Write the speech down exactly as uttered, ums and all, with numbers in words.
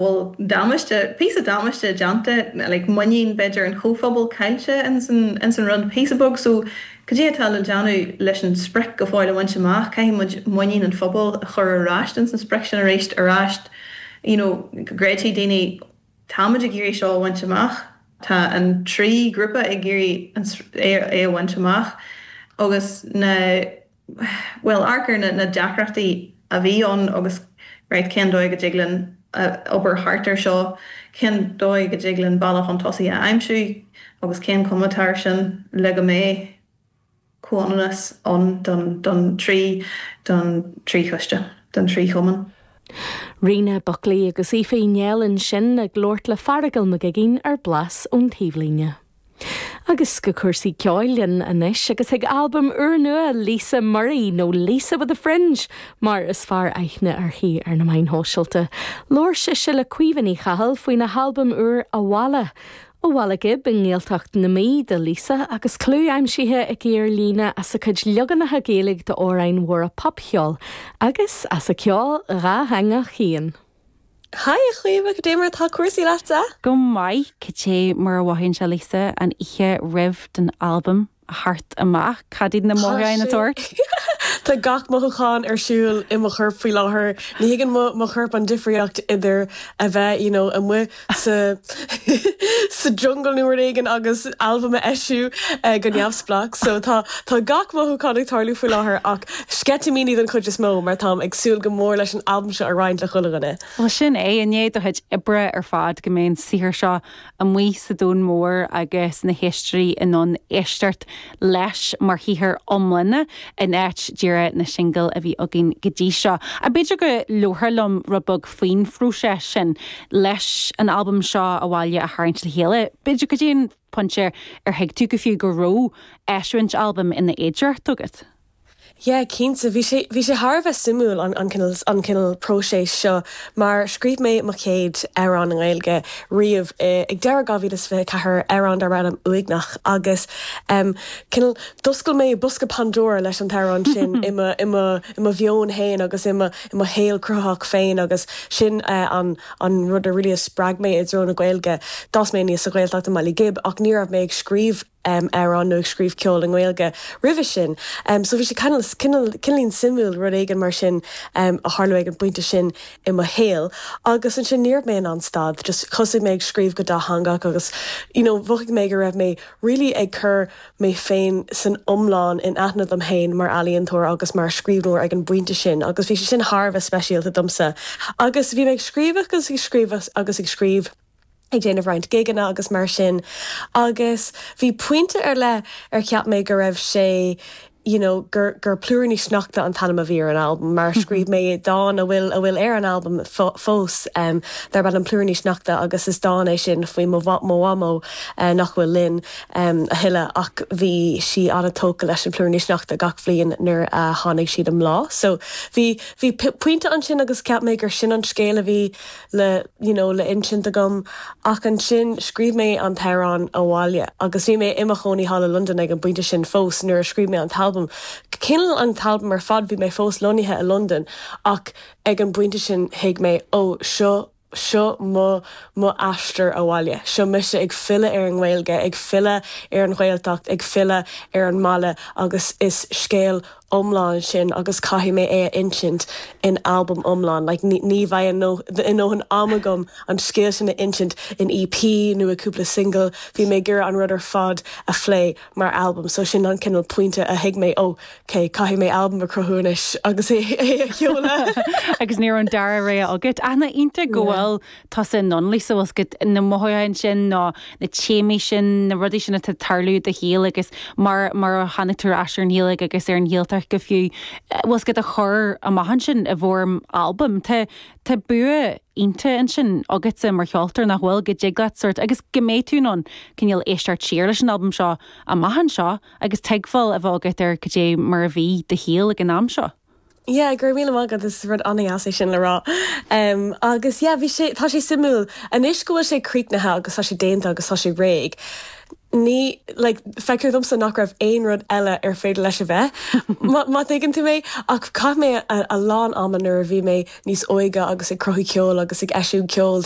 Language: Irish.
Bhfuil damáiste píosa damáiste déanta like, muinín b'fhéidir an chomhphobal caillte in san, in san rud píosa beag so cad é atá le déanamh leis an sprioc go fóill a bhaint amach caithfidh muid muinín an phobal a chur ar ais in san sprioc sin arís ar ais you know, gréití daoine táimid ag iarraidh seo a bhaint amach Tá an trí grúpa ag iarraidh é é a bhaint amach agus na well arcar na, na deacrachtaí a bhí ann agus right, cén dóigh go dtig linn obair thart ar seo cén dóigh go dtig linn bealach chun tosaigh a aimsiú agus cén chuma atá sin le go mbeidh comhionannas ann don, don trí don trí choiste don trí chumann. Ríona Buckley agus Aoife Néill ansin ag labhairt le Feargal Mac Uiginn ar Blas ón Taobhlíne. Agus go cúrsaí ceoil anois agus ag albam úrnua Lisa Murray nó Lisa with a Fringe mar is fearr aithne uirthi ar na meáin shóisialta. Labhair sise le Caoimhe Ní Chathail faoina halbam úr Abhaile. Ó Bhaile Ghib i nGaeltacht na Mí do Lisa agus clú aimsithe aici ar líne as a cuid leaganacha Gaeilge d'amhráin mhóra popcheoil agus as a ceol dátheangach féin. Hi a Chaoimhe cad é mar tá cúrsaí leatsa? Go maith cad é mar a mhothaíonn sé Lisa an oíche roimh don albam a theacht amach cad iad na mothúcháin atá ort? Tá gach mothúchán ar siúl i mo chorp faoi láthair. Ní thuigeann mo chorp an difríocht idir a bheith you know, amuigh sa sa jungle nó rud éigin agus albam a eisiú uh, go neamhspleách, so tá tá gach mothúchán ag tarlú faoi láthair ach sceitimíní den chuid is mó mar táim ag súil go mór leis an albam seo a roinnt le chuile dhuine. Well sin é i ndiaidh do chuid oibre ar fad go mbeidh an saothar seo amuigh sa domhan mór agus na héisteoirí in ann éisteacht leis mar shaothar iomlán in áit díreach na singil a bhí againn go dtí seo. A b'fhéidir go labhrófá liom rud beag faoin phróiseas sin leis an albam seo Abhaile a tharraingt le chéile. B'fhéidir go dtí an pointe ar thuig tú go fiú go raibh eisiúint albam ina fhéidearthacht agat. Yeah, cinnte bhí sé bhí sé thar a bheith suimiúil an an cineál an cineál próiseas seo mar scríobh mé mo chéad amhrán i nGaeilge riamh eh, ag deireadh dhá mhíle is fiche ceathair amhrán darb ainm Uaigneach agus um, cineál d'oscail mé bosca Pandora leis an t-amhrán sin i mo i mo i mo mheon féin agus i mo i mo shaol cruthaitheach féin agus sin uh, an an rud a really a spreag mé i dtreo na Gaeilge. D'fhás mé aníos sa Ghaeltacht i mBaile Ghib ach ní raibh mé ag scríobh um, amhrán nó ag scríobh ceol i nGaeilge roimhe sin. Um, so bhí sé cineál suimiúil rud éigin mar sin um, a tharlú ag an bpointe sin i mo shaol. agus ansin ní raibh mé in ann stad, just thosaigh mé ag scríobh go dátheangach agus you know, mhothaigh mé go raibh mé really ag cur mé féin san iomlán in aithne dom féin mar ealaíontóir agus mar scríbhneoir ag an bpointe sin, agus bhí sé sin thar a bheith speisialta domsa. Agus bhí mé ag scríobh agus ag scríobh agus ag scríobh ag déanamh roinnt gigeanna agus mar sin agus bhí pointe ar leith ar cheap mé go raibh sé you know, gur gur Plúiríní Sneachta an t-ainm a bhí ar an albam mar scríobh mé dán a bhfuil a bhfuil ar an albam fós um, darb ainm Plúiríní Sneachta agus is dán é sin faoi mo mhamó uh, nach bhfuil linn um, a thuilleadh ach bhí sí an-tógtha leis an plúiríní sneachta gach bliain nuair a tháinig siad i mbláth. So bhí bhí pointe ansin agus ceap mé gur sin an scéal a bhí le you know, le insint agam ach ansin scríobh mé an t-amhrán Abhaile agus bhí mé i mo chónaí thall i London ag an bpointe sin fós nuair a scríobh mé an t-albam. Cineál an t-albam ar fad bhí mé fós lonnaithe i London ach ag an bpointe sin thuig mé ó seo seo mo mo aistear abhaile. Seo mise ag filleadh ar an nGaeilge, ag filleadh ar an Ghaeltacht, ag filleadh ar an mbaile agus is scéal iomlán sin agus caithfidh mé é a insint in albam iomlán, like, ní, ní bheidh a ndóthain ama agam an scéal sin a insint in EP nó i cúpla single, bhí mé ag iarraidh an rud ar fad a phlé mar albam, so sin an cineál pointe a thuig mé ó okay, caithfidh mé albam a chruthú anois agus é é a sheoladh. agus ní an dara rogha agat. Ana iontach go bhfuil tusa in ann Lisa go na mothúcháin sin ná na téamaí sin na rudaí sin atá ag tarlú i do shaol agus mar mar a tháinig tú ar an Ghaeilge agus ar an Ghaeltacht go fiú bhfuil go a chur amach ansin i bhfoirm albam Tá Tá bua iontach ansin agatsa mar cheoltóir nach bhfuil go dtig leat sort agus go mbeidh tú in ann cineál éisteacht siar leis an albam seo amach anseo agus tuigbheáil a bheith agat ar cad é mar a bhí do shaol ag an am seo. Yeah, go raibh míle maith agat is rud an-deas é sin le rá. Um, agus yeah, bhí sé tá sé suimiúil anois go bhfuil sé críochnaithe agus tá sé déanta agus tá sé réidh. Ní like, feictear domsa nach raibh aon rud eile ar féidir leis a bheith má thuigeann tú mé ach chaith mé a, a lán ama nuair a bhí mé níos óige agus ag cruthú ceol agus ag eisiúint ceol